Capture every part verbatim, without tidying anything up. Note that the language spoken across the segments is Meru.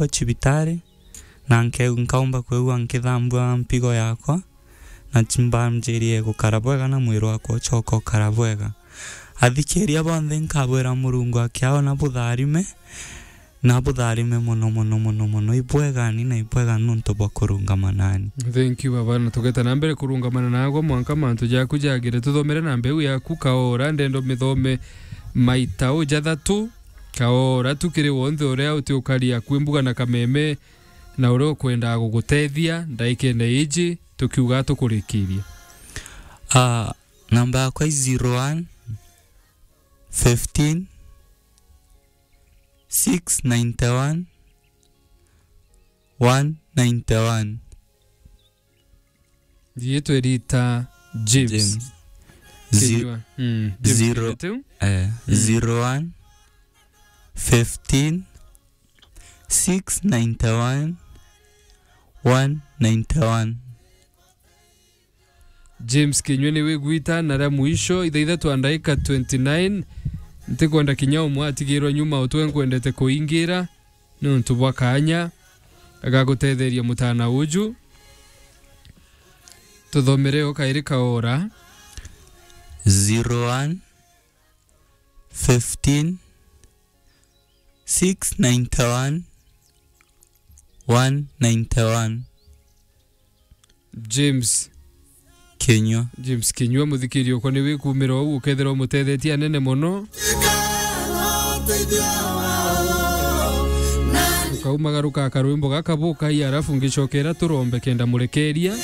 cibitari, na nkeu-, nkaumba kwigua nkithambua mpigo yakwa, na chimbanjirie gukara bwega na mwiri wakwa ucoka ukara bwega. Athikiria bonthe nkabwira Murungu akiao na butharime, na butharime mono, mono, mono, mono. Ibwegani na ibwega nontu bwa kurungama nani. Thank you, baba, na tugeta na mbere kurungamana nagwe mwanka mantu jaku jagire. Tuthomere na mbeu yaku Kaora, ndendo mithome maita u jathatu. Kaora tu kiri wonthe uria uti ukari akwi mbuga na kameme, na uria ukwendaa gugutethia ndaikene iji, tukiuga tukurikiria. Ah, namba yakwa i zero one, fifteen, six ninety-one, one ninety-one. Riitwa rita James. James. Zi-, Kinyua. Mm, James zero, Kinyua tu? Eh, mm. Zero one, fifteen, six ninety-one, one ninety-one. James Kinyua ni wigwita na ria mwisho, ithaa ithatu na ndaika twenty-nine. Ntikwenda kinya umwe atigirwa nyuma, utwe nkwendete kuingira niuntu bwa kaanya ga gutetheria mutana uju. Tuthomere o kairi Kaora. Zero one, fifteen, six ninety-one, one ninety-one. James. Kinyua. James Kinyua, muthikiri okwa ni wikumira uu, ukethira umutethetie anene mono. Ukaumagaruka akarwimbo gaka bukai, arafu ngicokera turombe kenda murekeria.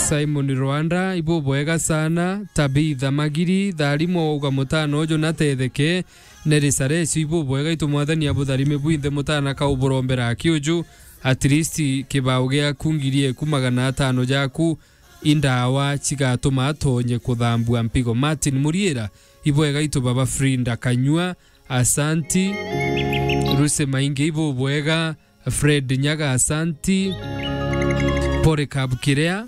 Simon Rwanda, ibubwega sana. Tabitha Magiri, tharimo uga mutana uju natetheke. Neri Sarecio, ibubwega, itu Mwathani abutharime bwinthe, mutana kauburombera aki uju, at least kibao giaku ngiri eku magana atano jaku, indawa cigatuma atonye kuthambua mpigo. Martin Muriira, ibwega itu baba Frinda Kanyua, asanti. Ruse Maingi, ibubwega. Fred Nyaga, asanti. Polycarp Kirea.